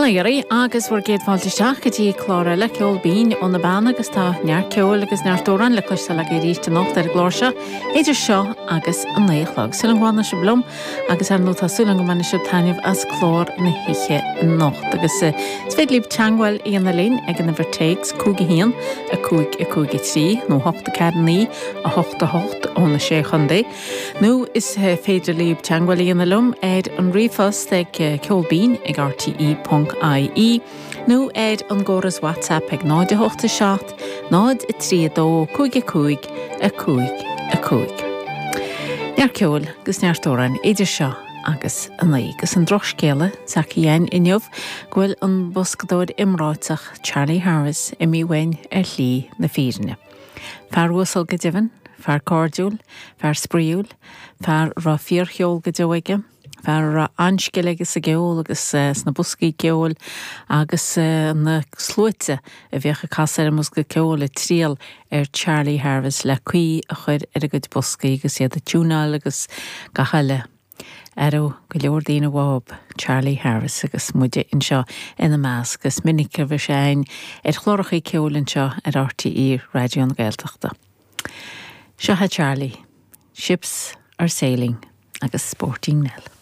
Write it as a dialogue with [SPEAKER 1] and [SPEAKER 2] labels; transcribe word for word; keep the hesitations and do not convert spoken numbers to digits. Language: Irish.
[SPEAKER 1] Bail ó Dhia oraibh agus bhur gcéad fáilte isteach go dtí clár eile Ceol Binn ó na Beanna agus tá neart ceoil agus neart amhrán le cloisteáil agaibh arís anocht ar an gclár seo idir seo agus a naoi a chlog. Súil agam go bhfanfaidh sibh liom agus ar ndóigh tá súil agam go mbainfidh sibh taitneamh as clár na hoíche anocht agus is féidir libh teagmháil a dhéanamh linn ag an uimhir téacs cúig a haon a cúig a cúig a trí nó hocht a ceathair naoi a hocht a hocht ó na sé chontae nó is féidir libh teagmháil a dhéanamh liom ar an ríomhphost ag ceolbinn ag RTE ponc IE nó ar an gcóras WhatsApp ag náid a hocht a seacht, náid a trí a dó, cúig a cúig, a cúig a cúig. Neart ceoil agus neart amhrán idir seo agus a naoi. Agus an drochscéala s'acu againn inniu go bhfuil an boscadóir iomráiteach Charlie Harris imithe uainn ar shlí na fírinne. Fear uasal go deimhin, fear cairdiúil, fear spraíúil, fear a raibh fíorcheol go deo aige, fear a raibh an-scil aige sa gceol agus sna boscaí ceoil agus na sluaite a bhíodh ag casadh ar an mbosca ceoil ag triall ar Charlie Harris le caoi a chur ar a gcuid boscaí agus iad a tiúnáil agus gach eile. Ar go leor daoine uathu Charlie Harris agus muide anseo ina measc is minic a bhí sé againn ar chláracha ceoil anseo ar RTÉ Raidió na Gaeltachta. Seo é Charlie, Ships are sailing agus Sporting Nell.